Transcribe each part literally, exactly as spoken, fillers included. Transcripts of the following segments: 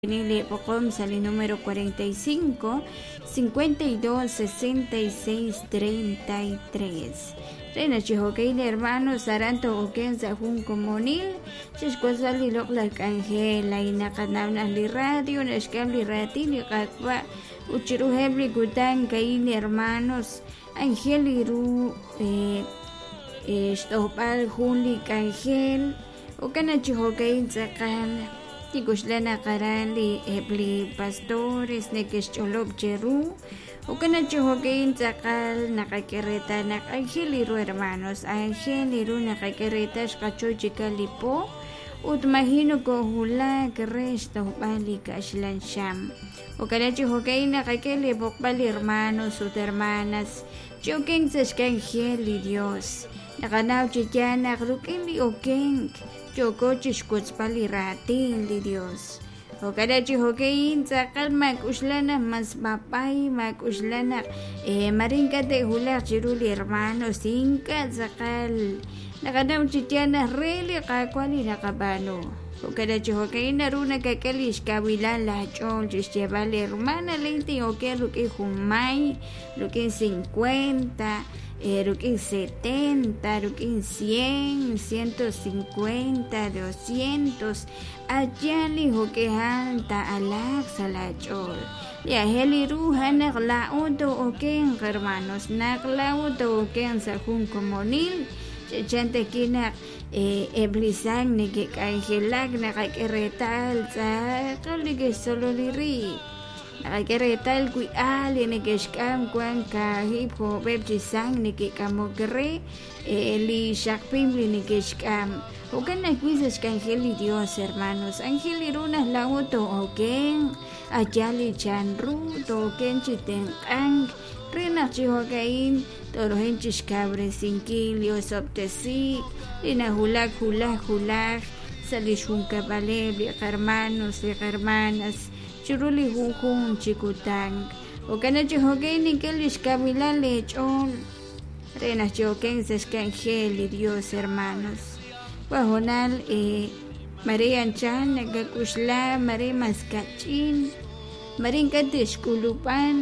Li sa' li número cuarenta y cinco, cincuenta y dos, sesenta y seis, treinta y tres. Re chi jo'kan hermanos aran to'oken sa' jun komonil chixwotzb'al li loq'laj k'anjel lay naqanaw naq li radio naxk'am li raatin li Qaawa' ut chiruheb' li kutan ka'in hermanos anjel li ru xtojb'al jun li k'anjel jo'kan chi jo'kan tz'aqal tikuxla naq aran li eb' li pastores neke'xch'olob' cheru jo'kan chi jo'kan tz'aqal naqak'e reetal naq anjel li ru hermanos anjel li ru naqak'e reetal xqachoy chikal li po ut maji nokojulak re xtojb'al li kaxlan xam jo'kan chi jo'kan naqak'e li b'oqb'al hermanos ut hermanas chi okenk sa' xk'anjel li Dios naqanaw chi yaal naq ruk'in li okenk yooko chixwotzb'al li raatin li Dios jo'kan chi jo'kan tz'aqal mak'uxla naq mas b'ab'ay mak'uxla naq mare ink'a' te'wulaq chiru li hermanos ink'a' tz'aqal naqanaw chi yaal naq re li Qaawa' li naqab'aanu jo'kan chi jo'kan naru nakak'e li xkawilal lach'ool chixyeeb'al li hermana lin tin'oken ruk'in jun may ruk'in cincuenta ruk'in setenta ruk'in cien ciento cincuenta doscientos allá li jo'kejal ta'alaq sa' lach'ool li ajel li ru naq la'o to'oken hermanos naq la'o to'oken sa' jun komonil ch'echante kinaq eb' li sang neke'k'anjelak naqak'e reetal tz'aqal neke'xtzolo li riib' naqak'e reetal wi al li neke'xk'am wan kaahib' jo'b'eb' chi sang neke'k'amok re li xaqpim li neke'xk'am jo'kan ajwi' sa' xk'anjel li Dios hermanos anjel li ru naq la'o to'oken allá li chanru to'oken chi tenq'ank re naq chi jo'ka'in torojen chixkawresinkil li osob'tesiik li najulak julaj julaj sa' li xjunkab'aleb' li qarmanos li qarmanas chiru li junjun chi kutan jo'kan chi jo'kan nink'e li xkawilal leech'ool re naq chi oken sa' xk'anjel li Dios hermanos wajonal mare anchal nakak'uxla mare mas kach'in mare ink'a' te'xk'ulub'an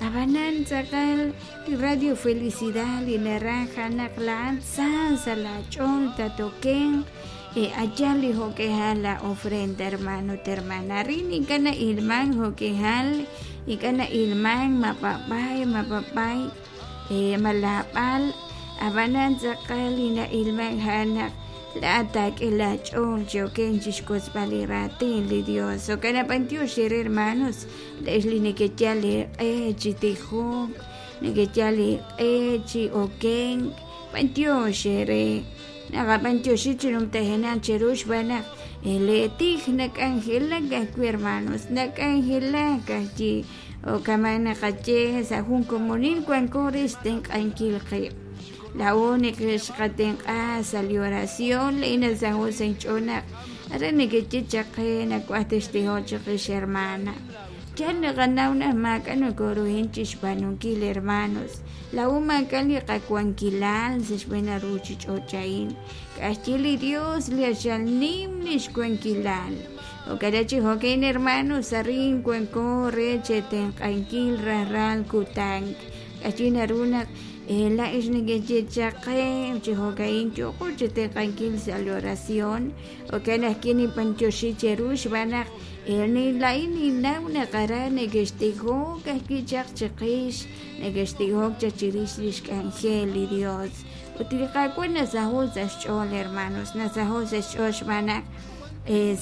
ab'anan tz'aqal li Radio Felicidad li naraj naq la'an sa sa' lach'ool tatoken allá li jo'kejal la ofrenda hermano hermana rin ink'a' na'ilman jo'kejal ink'a' na'ilman mapapay mapapay malab'al ab'anan tz'aqal li na'ilman ja'an naq la'at taak'e lach'ool chi oken chixwotzb'al li raatin li Dios jo'kan b'antiox ere hermanos la'ex li neke'yal iq'e chi tijok neke'yal iq'e chi okenk b'antiox ere naqab'antioxi chi numtajenaq cheru xb'aan naq leetij nak'anjelak ajwi' hermanos nak'anjelak ajwi' jo'kaman naqaye sa' jun komonil wanko re xtenq'ankil qib' la'o neke'xqatenq'a sa' li oración le'ina sa' jun sa' inch'ool naq are neke'ye chaq qe nawaj textijok chiqix hermana yal naqanaw naq maak'a' nokoruhin chixb'aanunkil hermanos la'o maak'a' li qawankilal sa' xb'een ruchich'och' a'in k'a'ajchi li Dios li axal nim li xwankilal jo'kan chi jo'kan hermanos arin wanko re chetenq'ankil rajlal kutan k'a'ajchi naru naq la'ex neke'ye chaq qe chi jo'kan yo'qo chetenq'ankil sa' li oración jo'kan ajwi' ninb'antioxi cheru xb'aan naq la'in ninnaw naq aran neke'xtijok ajwi' chaq chiqix neke'xtijok chaq chirix li xk'anjel li Dios ut li Qaawa' nasaho' sa' xch'ool hermanos nasaho' sa' xch'ool xb'aan naq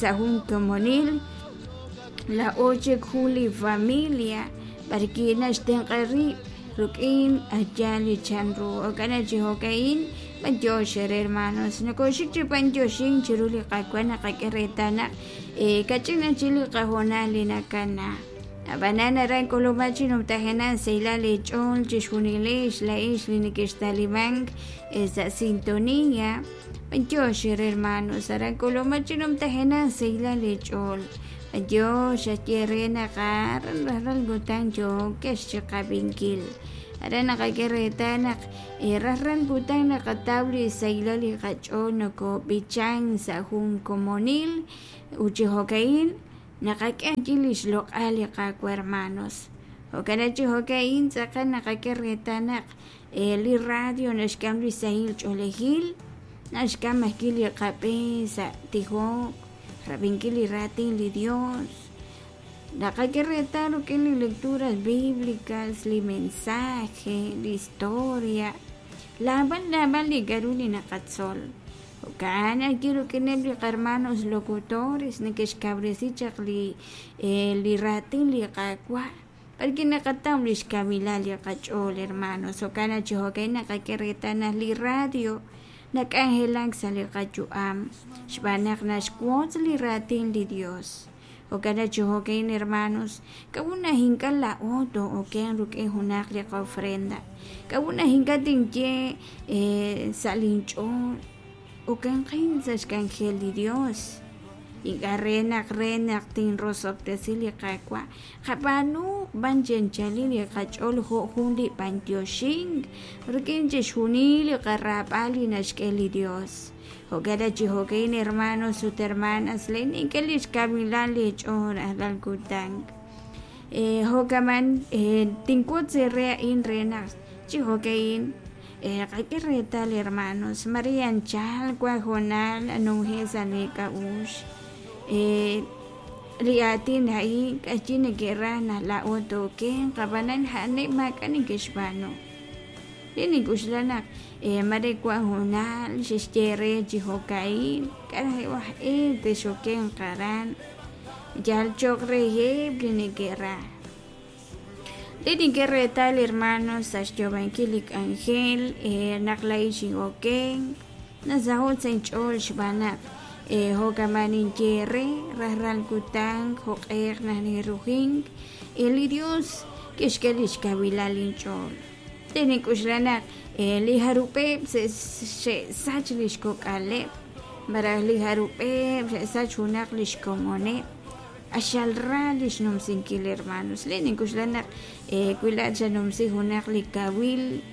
sa' jun komonil la'o chik jun li familia b'arki naxtenq'a rib' ruk'in allá li chanru jo'kan chi jo'ka'in b'antiox ere hermanos nokoxik chi b'antioxin chiru li Qaawa' naqak'e reetal naq kach'in chi li qajonal li nakana ab'anan aran k'ulub'aj chi numtajenaq saylal leech'ool chixjunilex la'ex li neke'xtalimank sa' sintonía b'antiox ere hermanos aran k'ulub'aj chi numtajenaq saylal leech'ool b'antiox aye re naq aran rajlal kutan yookex chiqab'inkil aran naqak'e reetal naq rajlal kutan naqataw li saylal li qach'ool nokob'ichan sa' jun komonil ut chi jo'ka'in Naqak'e ajwi' li xloq'al li Qaawa' hermanos. Jo'kan chi jo'ka'in tz'aqal naqak'e reetal naq li radio naxk'am li sahil ch'oolejil, naxk'am ajwi' li qab'e sa' tijok, rab'inkil li raatin li Dios. Naqak'e reetal rik'in li lecturas bíblicas, li mensaje, li historia, naab'al naab'al li k'a'ru li naqatzol. Jo'kan ajwi' rik'ineb' li qahermanos locutores neke'xkawresi chaq li li raatin li Qaawa' b'arwi' naqataw li xkawilal li qach'ool hermanos. Jo'kan chi jo'ka'in naqak'e reetal naq li radio nak'anjelak sa' li qayu'am xb'aan naq naxwotz li raatin li Dios. Jo'kan chi jo'ka'in hermanos, k'a'ut naq ink'a' laa'o too'okenq rik'in junaq li qofrenda, k'a'ut naq ink'a' tinye sa' linch'ool okenqin sa' xk'anjel li Dios, ink'a' re naq re naq tinrosob'tesi li Qaawa', qab'aanuuq b'an chi anchalil li qach'ool jo' jun li b'antioxink rik'in chixjunil li qaraab'al li naxk'e li Dios. Jo'kan chi jo'ka'in hermanos ut hermanas, len nink'e li xkawilal li ch'ool rajlal kutan. Jo'kaman tinwotz eere a'in re naq chi jo'ka'in qak'e reetal hermanos, mare anchal wan hoonal anumje' sa' nek'a'uxl li aatin a'in k'ayi neke'raj naq laa'o tookenq ab'anan a'aneb' maak'a' neke'xb'aanu. Li nink'uxla naq mare wan hoonal xe'xye re chi jo'ka'in k'a' aj e texokenq aran yal cho'q reheb' li neke'raj. Li nink'e reetal hermanos sa' xyoob'ankil li k'anjel naq laa'in xin'okenk nasaho' sa' inch'ool xb'aan naq jo'kaman ninye re rajlal kutan jo'q'eq naq ninrujink li Dios kixk'e li xkawilal inch'ool. Li nink'uxla naq li jarub'eb' xe'sach li xkok'aleb' malaj li jarub'eb' xe'sach junaq li xkomoneb' q'axal ra li xnumsinkil hermanos. Li nink'uxla naq wi laa'at xanumsi junaq li kawil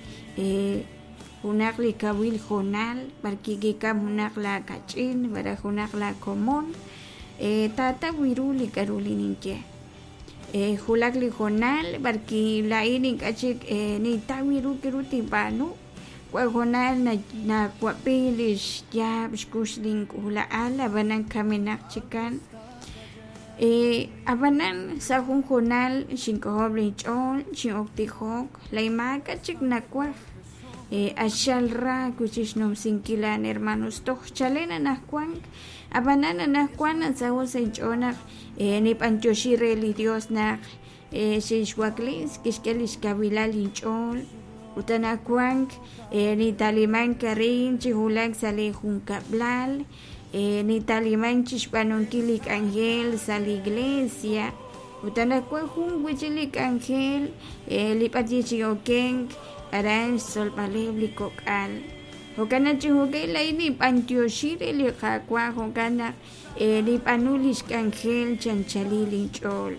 junaq li kawil hoonal b'arwi' kikam junaq laakach'in malaj junaq laakomon taataw ru li k'a'ru li ninye. Wulak li hoonal b'arwi' laa'in ink'a' chik nintaw ru k'a'ru tinb'aanu, wan hoonal nawab'i li xyaab' xkux link'uula'al ab'anan kamenaq chikan. Ab'anan sa' jun hoonal xink'ojob' linch'ool xin'ok tijok laa'in maak'a' chik nawaj q'axal ra wi'chik xnumsinkil a'an hermanos toj chalen anaqwan ab'anan anaqwan nasaho' sa' inch'ool naq nib'antioxi re li Dios naq xinxwaklis kixk'e li xkawilal inch'ool ut anaqwan nitalimank arin chi wulak sa' li junkab'lal nitalimank chi xb'aanunkil li k'anjel sa' li iglesia ut anaqwan jun wi'chik li k'anjel li b'arwi' xin'okenk aran xtzolb'aleb' li kok'al. Jo'kan chi jo'ka'in laa'in ninb'antioxi re li Qaawa' jo'kan naq nib'aanu li xk'anjel chi anchalil inch'ool.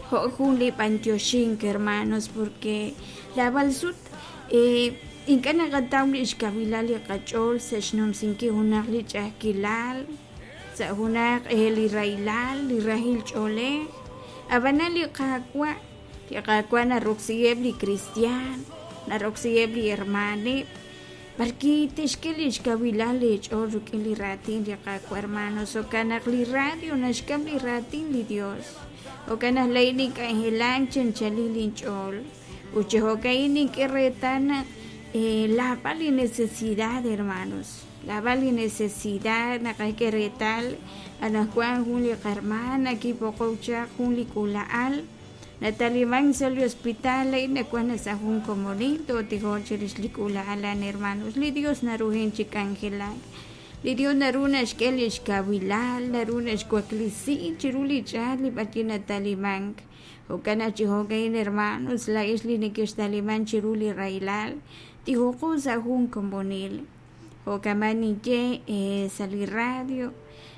Jo' jun li b'antioxink hermanos porque naab'al sut ink'a' naqataw li xkawilal li qach'ool sa' xnumsinkil junaq li ch'a'ajkilal, sa' junaq li rahilal, li rahil ch'oolej. Ab'anan li Qaawa', li Qaawa' naroksiheb' li cristian, naroksiheb' li hermaneb' b'arwi' tixk'e li xkawilal leech'ool rik'in li raatin li Qaawa' hermanos. Jo'kan naq li radio naxk'am li raatin li Dios. Jo'kan naq laa'in nink'anjelak chi anchalil inch'ool ut chi jo'ka'in nink'e reetal naq naab'al li necesidad hermanos, naab'al li necesidad naqak'e reetal anaqwan jun li qahermana kib'oqok chaq jun li k'uula'al natalimank sa' li hospital laa'in nawan sa' jun komonil tootijoq chirix li k'uula'al a'an hermanos. Li Dios naruhin chi k'anjelak, li Dios naru naxk'e li xkawilal, naru naxwaklisi chiru li ch'aat li b'arwi' natalimank. Jo'kan chi jo'ka'in hermanos, laa'ex li nekextalimank chiru li rahilal tijoqo sa' jun komonil. Jo'kaman ninye sa' li radio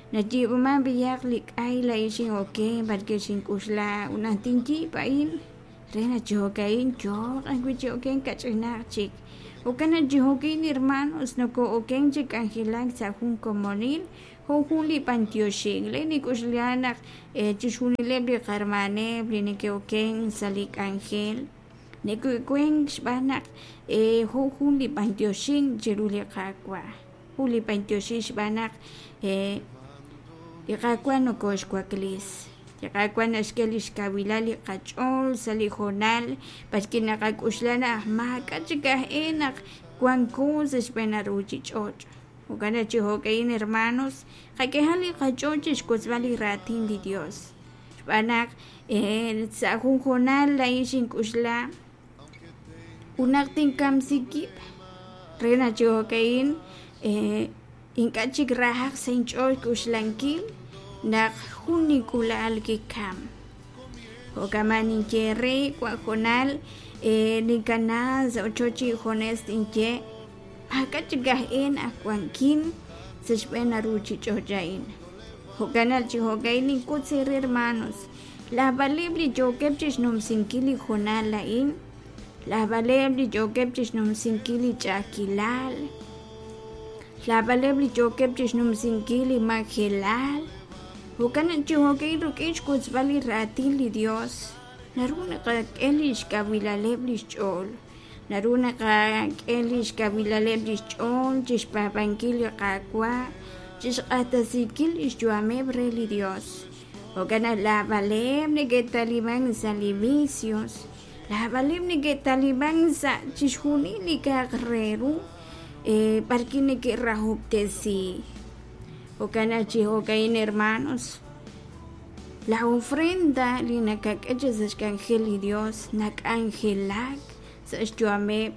nayiib'aman b'ayaq li k'ay laa'in xin'okenk b'arwi' xink'uxla ut naq tinyiib' a'in re naq chi jo'ka'in yooq ajwi' chi okenk kach'inaq chik. Jo'kan naq chi jo'ka'in hermanos noko'okenk chi k'anjelak sa' jun komonil Jo' jun li b'antioxink laa'in nink'uxla naq chixjunileb' li qahermaneb' li neke'oken sa' li k'anjel neke'oken xb'aan naq jo' jun li b'antioxink chiru li Qaawa', jun li b'antioxink xb'aan naq li Qaawa' nokoxwaklis, li Qaawa' naxk'e lix kawilal li qach'ool sa' li hoonal b'arwi' naqak'uxla naq maak'a' chik aj e naq wanko sa' xb'een ruchich'och'. Jo'kan naq chi jo'ka'in hermanos qak'ehaq li qach'ool chixwotzb'al li raatin li Dios xb'aan naq sa' jun hoonal laa'in xink'uxla ut naq tinkamsi wib' re naq chi jo'ka'in ink'a' chik rahaq sa' inch'ool xk'uxlankil naq jun nink'ula'al kikam. Jo'kan ninye re wan hoonal ninkana sa' ochoch injunes tinye maak'a' chik aj e naq wankin sa' xb'een ruchich'och' a'in. Jo'kan naq chi jo'ka'in ninwotz eere hermanos, lajb'aleb' li yookeb' chixnumsinkil li hoonal a'in, lajb'aleb' li yookeb' chixnumsinkil li ch'a'ajkilal, lajb'aleb' li yookeb' chixnumsinkil li majelal. Jo'kan naq chi jo'ka'in rik'in xwotzb'al li raatin li Dios naru naqak'e lix kawilaleb' lix ch'ool, naru naqak'e lix kawilaleb' lix ch'ool chixpaab'ankil li Qaawa', chixq'axtesinkil lix yu'ameb' re li Dios. Jo'kan naq lajb'aleb' neke'taliman sa' li vicios, lajb'aleb' neke'taliman sa' chixjunil li k'a'aq re ru b'arwi' neke'rahob'tesi. Jo'kan naq chi jo'ka'in hermanos, la ofrenda li nakak'e sa' xk'anjel li Dios nak'anjelak sa' xyu'ameb'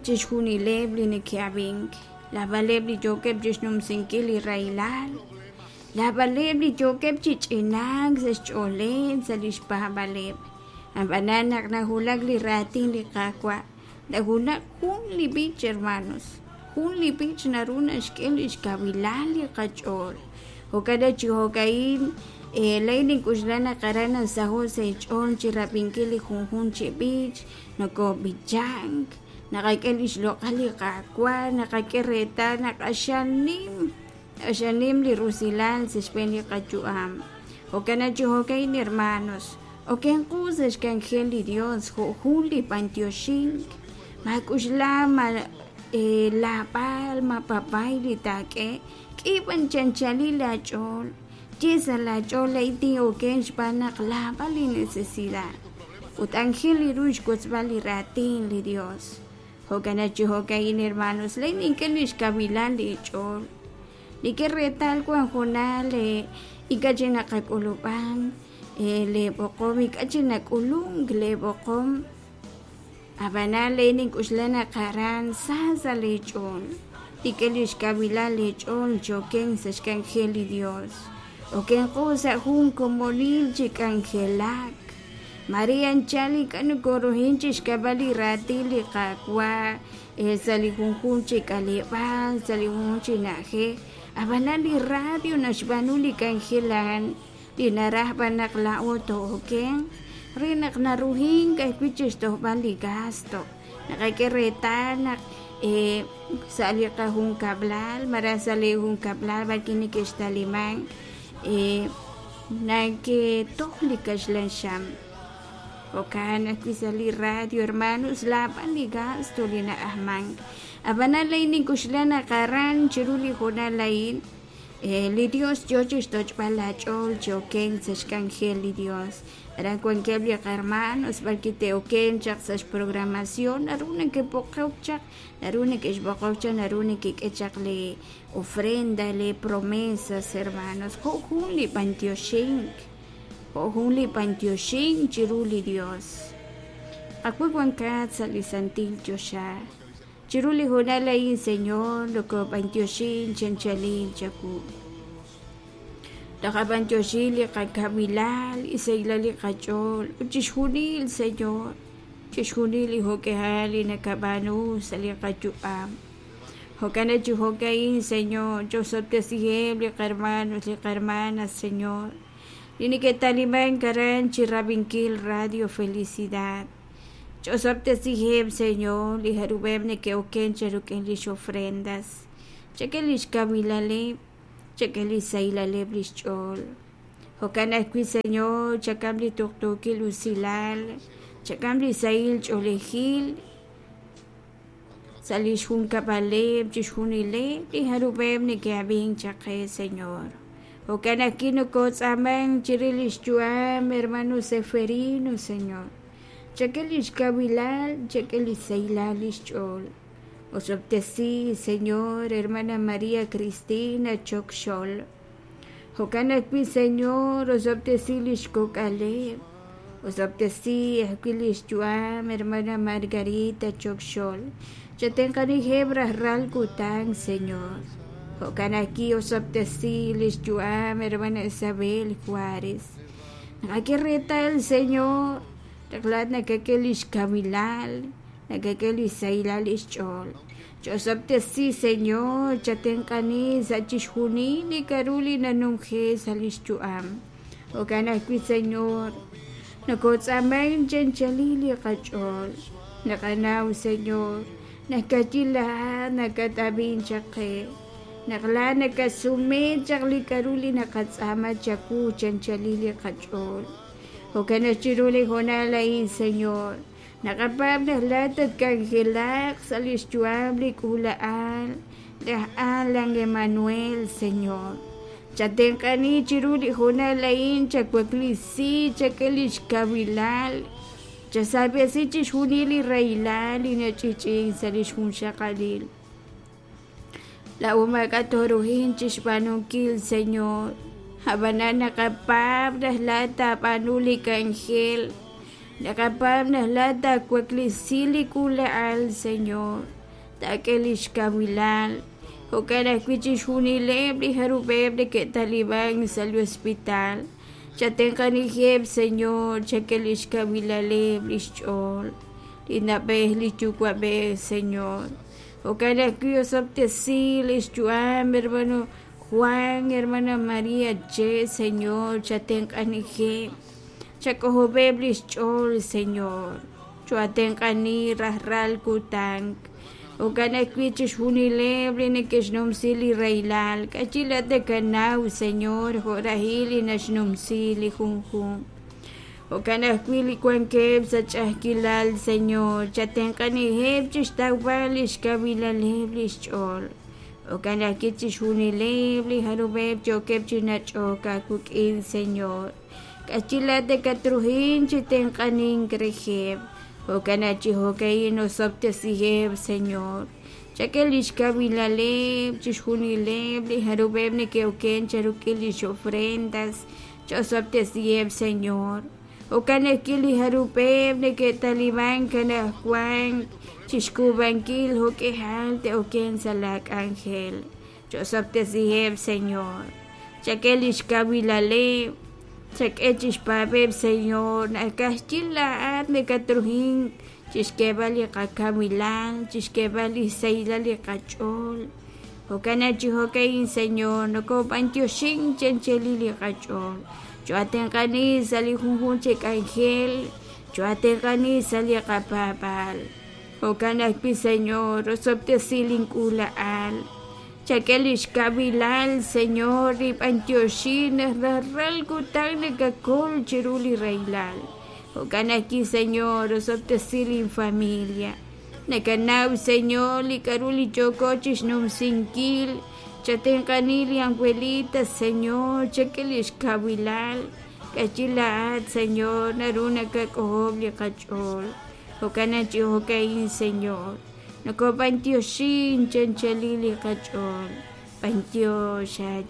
chixjunileb' li neke'ab'ink, lajb'aleb' li yookeb' chixnumsinkil li rahilal, lajb'aleb' li yookeb' chi ch'inaak sa' xch'ooleb' sa' lix paab'aleb'. Ab'anan naq nawulak li raatin li Qaawa', nawulak jun li b'ich hermanos, jun li b'ich naru naxk'e lix kawilal li qach'ool. Jo'kan naq chi jo'ka'in laa'in nink'uxla naq aran nasaho' sa' inch'ool chi rab'inkil li junjunq chi b'ich, nokob'ichank, naqak'e lix loq'al li Qaawa', naqak'e reetal naq q'axal nim, q'axal nim li rusilal sa' xb'een li qayu'am. Jo'kan naq chi jo'ka'in hermanos, okenqu sa' xk'anjel li Dios jo' jun li b'antioxink, maak'uxla ma laab'al ma papay li taak'e, k'i b'an chanchalil laach'ool, ye sa' laach'ool laa'in tin'oken xb'aan naq laab'al li necesidad ut anjel li ru xwotzb'al li raatin li Dios. Jo'kan naq chi jo'ka'in hermanos, laa'in nink'e lix kawilal li ch'ool, nink'e reetal wan hoonal ink'a' chik naqak'ulub'an leeb'oqom, ink'a' chik nak'ulunk leeb'oqom. Ab'anan laa'in nink'uxla naq aran sa sa' leech'ool, nink'e lix kawilal leech'ool chi oken sa' xk'anjel li Dios. Okenqu sa' jun komonil chi k'anjelak. Maria anchal ink'a' nokoruhin chixk'ab'al li raatin li Qaawa' sa' li junjunq chi k'aleb'aal, sa' li junjunq chi na'ajej. Ab'anan li radio naxb'aanu li k'anjel a'an li naraj b'an naq laa'o to'okenq re naq naruhink ajwi' chixtojb'al li gasto. Naqak'e reetal naq sa' li qajunkab'lal malaj sa' li junkab'lal b'arwi' neke'xtaliman naketoj li kaxlan xam. Jo'kan ajwi' sa' li radio hermanos laab'al li gasto li na'ajman. Ab'anan laa'in nink'uxla naq aran chiru li hoonal a'in li Dios yoo chixtoch'b'al laach'ool chi okenk sa' xk'anjel li Dios. Aran wankeb' li qahermanos b'arwi' te'oken chaq sa' xprogramación naru neke'b'oqok chaq, naru neke'xb'oqok chaq, naru nekek'e chaq li ofrenda, li promesas hermanos, jo' jun li b'antioxink, jo' jun li b'antioxink chiru li Dios. Qawa' wankat sa' li santil choxa. Chiru li hoonal a'in Señor, nokob'antioxin chanchalil chawu. Taqab'antioxin li qakawilal, isahilal li qach'ool, ut chixjunil Señor, chixjunil li jo'k'ehal li nakab'aanu sa' li qayu'am. Jo'kan naq chi jo'ka'in Señor, ch'osob'tesiheb' li qahermanos, li qahermanas Señor, li neke'taliman aran chi rab'inkil Radio Felicidad. Ch'osob'tesiheb' Señor, li jarub'eb' neke'oken cha rik'in lix ofrendas, chak'e lix kawilaleb', Chak'e li xsahilaleb' li xch'ool. Jo'kan ajwi', Señor, chak'am li tuqtuukil usilal, chak'am li sahil ch'oolejil sa' li xjunkab'aleb' chixjunileb' li jarub'eb' neke'ab'ink chaq qe, Señor. Jo'kan ajwi' nokotz'aamank chirix li xyu'am hermano Seferino, Señor. Chak'e li xkawilal, chak'e li xsahilal li xch'ool. Osob'tesi, Señor, hermana María Cristina Choc Xol. Jo'kan ajwi', Señor, osob'tesi li xkok'aleb'. Osob'tesi ajwi' li xyu'am hermana Margarita Choc Xol. Chatenq'anijeb' rajlal kutan, Señor. Jo'kan ajwi' osob'tesi li xyu'am hermana Isabel Juárez. Naqak'e reetal, Señor, naq laa'at nakak'e li xkawilal, nakak'e li xsahilal li xch'ool. Ch'osob'tesi, Señor, chatenq'ani sa' chixjunil li k'a'ru li nanumje sa' li xyu'am. Jo'kan ajwi', Señor, nokotz'aamank chanchalil li qach'ool. Naqanaw, Señor, naq ka'ajwi' laa'at nakat'ab'ink chaq qe. Naq laa'at nakasume chaq li k'a'ru li naqatz'aama chawu chanchalil li qach'ool. Jo'kan naq chiru li hoonal a'in, Señor, naqapaab' naq laa'at tatk'anjelaq sa' li xyu'am li k'uula'al laj Alan Emanuel, Señor. Chatenq'ani chiru li hoonal a'in, chawaklisi, chak'e li xkawilal, chasab'esi chixjunil li rahilal li nach'ich'in sa' li xjunxaqalil. Laa'o maak'a' tooruhin chixb'aanunkil, Señor. Ab'anan naqapaab' naq laa'at taab'aanu li k'anjel. Naqapaab' naq laa'at taawaklisi li k'uula'al, Señor. Taak'e li xkawilal. Jo'kan ajwi' chixjunileb' li jarub'eb' neke'talib'ank sa' li hospital. Chatenq'anijeb', Señor, chak'e li xkawilaleb' li xch'ool. Li na'b'ej, li yuwa'b'ej, Señor. Jo'kan ajwi' osob'tesi li xyu'am, hermano Juan, hermana María Che, Señor, chatenq'anijeb'. Chak'ojob'eb' li xch'ool, Señor. Choatenq'ani rajlal kutan. Jo'kan ajwi' chixjunileb' li neke'xnumsi li rahilal. K'achi laa'at nakanaw, Señor, jo' rahil li naxnumsi li junjunq. Jo'kan ajwi' li wankeb' sa' ch'a'ajkilal, Señor, chatenq'anijeb' chixtawb'al li xkawilaleb' li xch'ool. Jo'kan ajwi' chixjunileb' li jarub'eb' yookeb' chi nach'ok aawik'in, Señor. K'achi laa'at nakatruhin chi tenq'anink reheb'. Jo'kan naq chi jo'ka'in osob'tesiheb', Señor. Chak'e li xkawilaleb' chixjunileb' li jarub'eb' neke'oken charuk'il li xofrendas. Ch'osob'tesiheb', Señor. Jo'kan ajwi' li jarub'eb' neke'talib'ank anaqwan chixk'uub'ankil jo'k'ihal te'oken sa' la k'anjel. Ch'osob'tesiheb', Señor. Chak'e li xkawilaleb'. Chak'e chixpaab'eb', Señor. Naq ka'ajwi' laa'at nakatruhin chixk'eeb'al li qakawilal, chixk'eeb'al li xsahilal li qach'ool. Jo'kan naq chi jo'ka'in, Señor, nokob'antioxink chanchalil li qach'ool. Choatenq'ani sa' li junjunq chi k'anjel, choatenq'ani sa' li qapaab'aal. Jo'kan ajwi', Señor, osob'tesi link'uula'al. Chak'e li xkawilal, Señor, rib'antioxi naq rajlal kutan nakakol chiru li rahilal. Jo'kan ajwi', Señor, osob'tesi linfamilia. Nakanaw, Señor, li k'a'ru li yooko chixnumsinkil. Chatenq'ani li abuelita, Señor, chak'e li xkawilal. K'achi laa'at, Señor, naru nakak'ojob' li qach'ool. Jo'kan naq chi jo'ka'in, Señor, nokob'antioxin chanchalil li qach'ool. B'antiox.